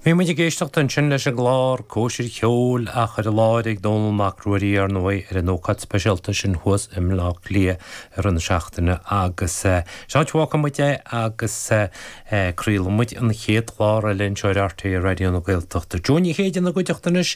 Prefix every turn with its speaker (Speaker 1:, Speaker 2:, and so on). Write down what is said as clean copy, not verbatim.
Speaker 1: Bhí muid ag éisteacht ansin leis an gclár Cóisir Cheoil á chur i láthair ag Dónall Mac Ruairí, ar ndóigh, ar an ócáid speisialta sin thuas i mBleá Cliath i rith na seachtaine agus seo áit a bhfágfaidh muid é agus craolfaidh muid an chéad chlár eile anseo ar RTÉ Raidió na Gaeltachta. Joe Ní Chéide ina gcuideachta anois.